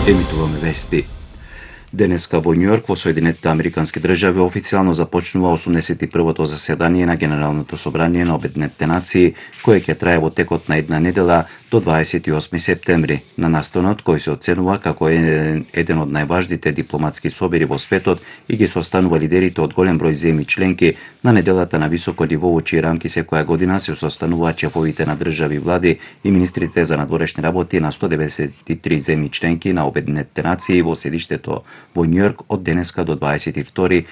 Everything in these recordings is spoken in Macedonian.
Емитуваме вести. Денеска во Њујорк во Соединетите Американски држави официјално започнува 81-то заседание на Генералното собрание на Обединетите нации, кое ќе трае во текот на една недела до 28 септември. На настанот кој се оценува како еден од најважните дипломатски собери во светот и ги состанува лидерите од голем број земји членки, на неделата на високо ниво во чии рамки секоја година се состануваат шефовите на држави и влади и министрите за надворешни работи на 193 земји членки на Обединетите нации во седиштето во Њујорк од денеска до 22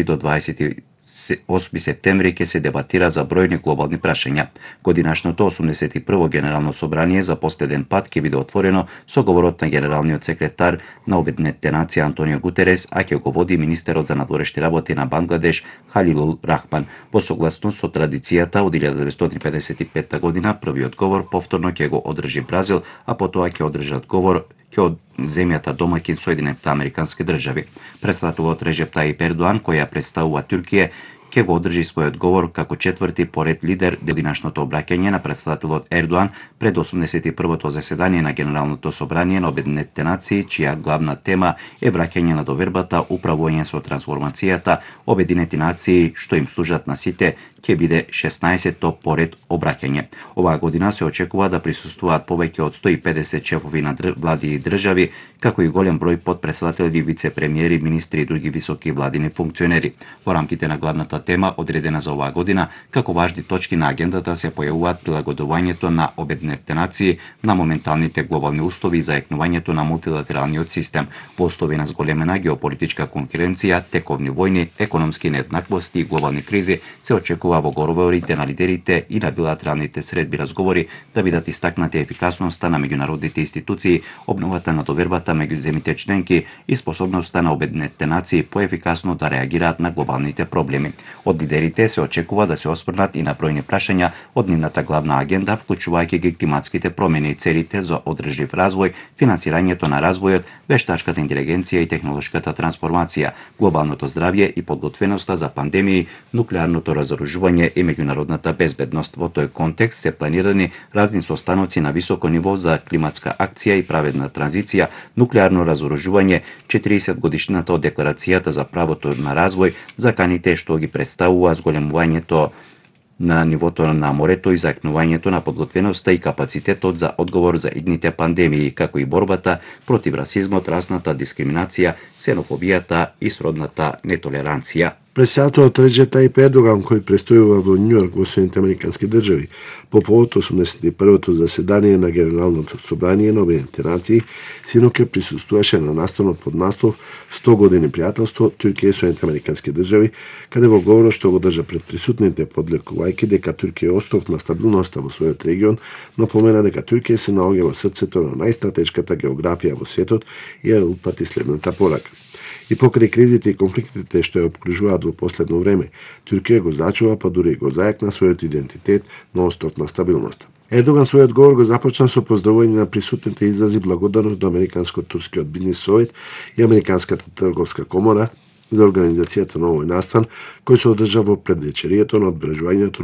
до 28 септември ќе се дебатира за бројни глобални прашања. Годинашното 81 Генерално собрание за последен пат ќе биде отворено со говорот на генералниот секретар на Обединетите нации Антонио Гутерес, а ќе го води министерот за надворешни работи на Бангладеш Халилул Рахман. Во согласност со традицијата од 1955 година, првиот говор повторно ќе го одржи Бразил, а потоа ќе одржат говор од земјата домаќин Соединетите Американски држави. Председателот Режеп Тајип Ердоан, која представува Туркија, ќе го одржи својот говор како четврти поред лидер. Денешното обраќање на председателот Ердоан пред 81-то заседание на Генералното собрание на Обединетите нации, чија главна тема е враќање на довербата, управување со трансформацијата, Обединети нации што им служат на сите, ќе биде 16-то поред обраќање. Оваа година се очекува да присуствуваат повеќе од 150 шефови на влади и држави, како и голем број подпредседатели, вице-премиери, министри и други високи владини функционери. Во рамките на главната тема одредена за оваа година, како важни точки на агендата се појавуваат прилагодувањето на Обединетите нации на моменталните глобални услови за екнувањето на мултилатералниот систем, во услови на зголемена геополитичка конкуренција, тековни војни, економски нееднаквости и глобални кризи, се очекува во говорите на лидерите и на билатералните средби разговори да бидат истакнати ефикасноста на меѓународните институции, обновата на довербата меѓу земјите членки и способноста на Обединетите нации поефикасно да реагираат на глобалните проблеми. Од лидерите се очекува да се осврнат и на бројни прашања од нивната главна агенда, вклучувајќи ги климатските промени и целите за одржлив развој, финансирањето на развојот, вештачката интелигенција и технолошката трансформација, глобалното здравје и подготвеноста за пандемии, нуклеарното разоружување и меѓународната безбедност. Во тој контекст се планирани разни состаноци на високо ниво за климатска акција и праведна транзиција, нуклеарно разоружување, 40 годишнината од декларацијата за правото на развој, заканите што ги представува зголемувањето на нивото на морето и закнувањето на подготвеноста и капацитетот за одговор за идните пандемии, како и борбата против расизмот, расната дискриминација, ксенофобијата и сродната нетолеранција. Председателот Режеп Тајип Ердоган, кој престојува во Њујорк во Соединетите Американски држави по повод 81-то заседание на Генералното собрание на Обединетите нации, синоќа присуствуваше на настанот под наслов 100 години пријателство Туркија и Соединетите Американски држави, каде во говорот што го држа пред присутните подлекувајќи дека Туркија е остов на стабилноста во својот регион, напомена дека Туркија се наоѓа во срцето на најстратешката географија во светот и ја упати следната порака. И покрај кризите и конфликтите што ја обкружуваат во последно време, Туркија го зачува, па дури го зајакна својот идентитет на остов на стабилноста. Ердоган својот говор го започна со поздравување на присутните и изрази благодарност до Американско-турскиот бизнис совет и Американската трговска комора за организацијата на овој настан, кој се одржа во предвечерието на одбележувањето